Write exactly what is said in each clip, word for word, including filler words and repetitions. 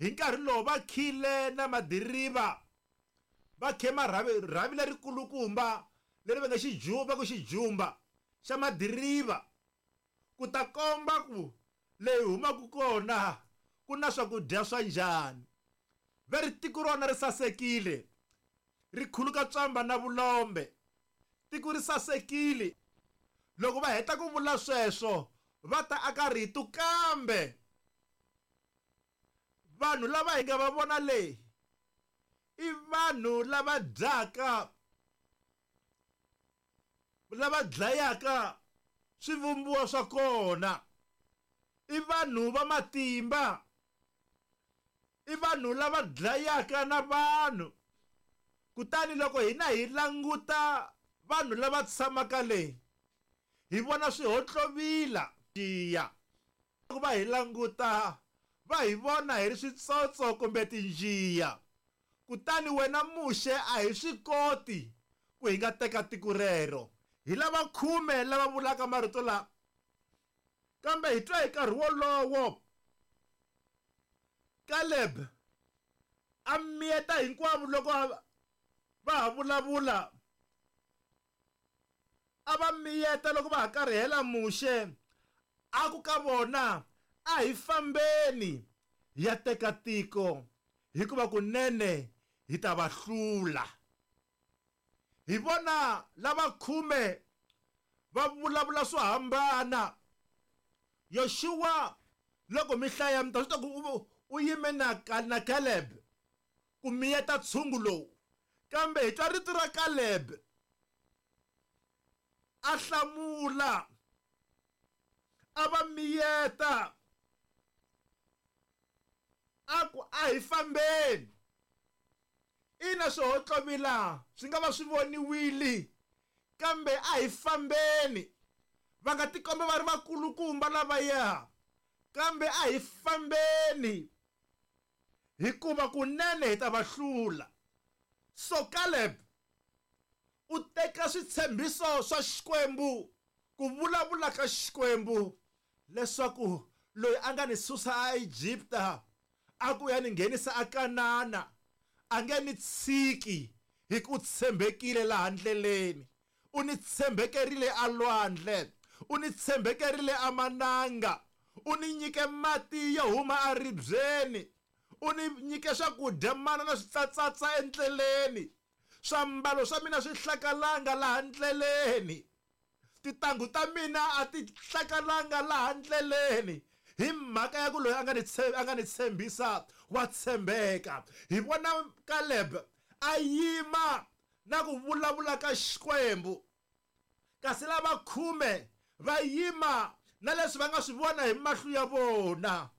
Hi nkarhi lowu va khile na madiriva, va khe marhavi rhavi lerikulukumba leri va nga xijumba ku xijumba xa madiriva, ku ta komba ku leyi humaka kona ku na swakudya swa njhani. Va ri tiko rona ri sasekile, ri khuluka tswamba na vulombe, tiko ri sasekile. Loko va heta ku vula sweswo va ta aka rito, kambe vanhu lava hi nga va vona leyi i vanhu lava dyaka, lava dlayaka swivumbiwa swa kona, i vanhu va matimba, i vanhu lava dlayaka na vanhu. Kutani loko hina hi languta vanhu lava tshamaka le, hi vona swihotlovila tiya. Loko va hi languta va hi vona hi ri switsotso kumbe tinjiya. Kutani wena Muxe a hi swi koti ku hi nga teka tiko rero. Hi lava khume lava vulaka marito lawa, kambe hi twa hi nkarhi wolowo Caleb a miyeta hinkwavo loko va ha vulavula, a va miyeta loko va ha karihela Muxe, a ku ka vona, a hi fambeni hi ya teka tiko, hikuva kunene hi ta va hlula. Hi vona lava khume va vulavula swo hambana. Yoshua loko mi hlaya mi ta swi tiva ku u yime na na Caleb ku miyeta tshungu lowu, kambe hi twa rito ra Caleb a hlamula, a va miyeta a ku a hi fambeni. Ina swihotlovila swi nga va swi voniwile, kambe a hi fambeni. Va nga tikomba va ri vakulukumba lavaya, kambe a hi fambeni, hikuva kunene hi ta va hlula. So Caleb u teka switshembiso swa Xikwembu, ku vulavula ka Xikwembu, leswaku loyi a nga ni susa aEgipta a ku ya ni nghenisa aKanana a nge ni tshiki, hi ku tshembekile laha ndleleni. U ni tshembekerile alwandle, u ni tshembekerile amananga, u ni nyike mati yo huma aribyeni, u ni nyike swakudya mana na switsatsatsa endleleni, swiambalo swa mina swi hlakalanga laha ndleleni, tintangu ta mina a ti hlakalanga laha ndleleni, hi mhaka ya ku loyi a nga ni a nga ni tshembisa wa tshembeka. Hi vona Caleb a yima na ku vulavula ka Xikwembu, kasi lava khume va yima na leswi va nga swi vona hi mahlo ya vona.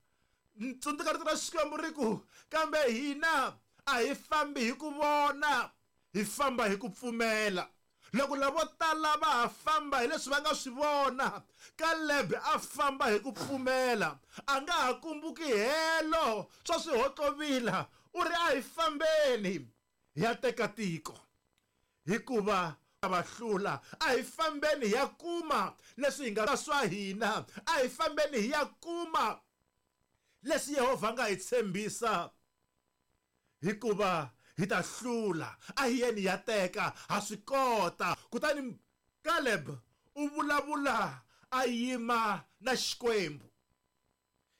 Tsundzuka rito ra Xikwembu ri ku, kambe hina a hi fambi hi ku vona, hi famba hi ku pfumela. Loko lavo tala va ha famba hi leswi va nga swi vona, Caleb a famba hi ku pfumela, a nga ha kumbuki helo swa swihotlovila. U ri a hi fambeni hi ya teka tiko, hikuva va hlula. A hi fambeni hi ya kuma leswi hi nga swa hina, a hi fambeni hi ya kuma leswi Yehovha a nga hi tshembisa, hikuva hi ta hlula. A hi yeni ya teka, ha swi kota. Kutani Caleb u vulavula a yima na Xikwembu,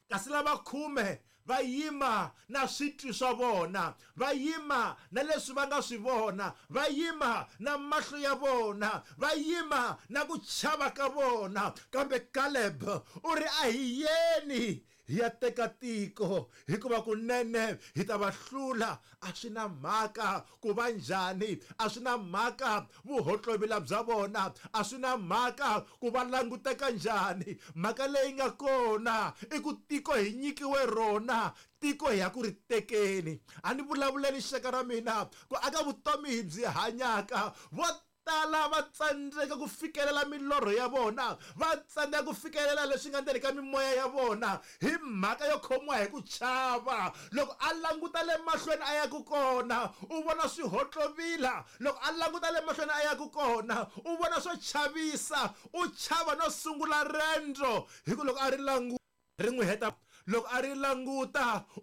kasi lava khume va yima na switwi swa vona, va yima na leswi va nga swi vona, va yima na mahlo ya vona, va yima na ku chava ka vona. Kambe Caleb u ri a hi yeni hi ya teka tiko, hikuva kunene hi ta va hlula. A swi na mhaka ku va njhani, a swi na mhaka vuhotlovila bya vona, a swi na mhaka ku va languteka njhani. Mhaka leyi nga kona i ku tiko hi nyikiwe rona, tiko hi ya ku ri tekeni. A ni vulavuleni xaka ra mina ku aka vutomi hi byi hanyaka, vo tala va tsandzeka ku fikelela milorho ya vona, va tsandzeka ku fikelela leswi nga ndzeni ka mimoya ya vona hi mhaka yo khomiwa hi ku chava. Loko a languta le mahlweni a ya ku kona, u vona swihotlovila. Loko a languta le mahlweni a ya ku kona, u vona swo chavisa, u chava no sungula rendzo, hi ku loko a ri languta ri n'wi heta. Loko a ri languta u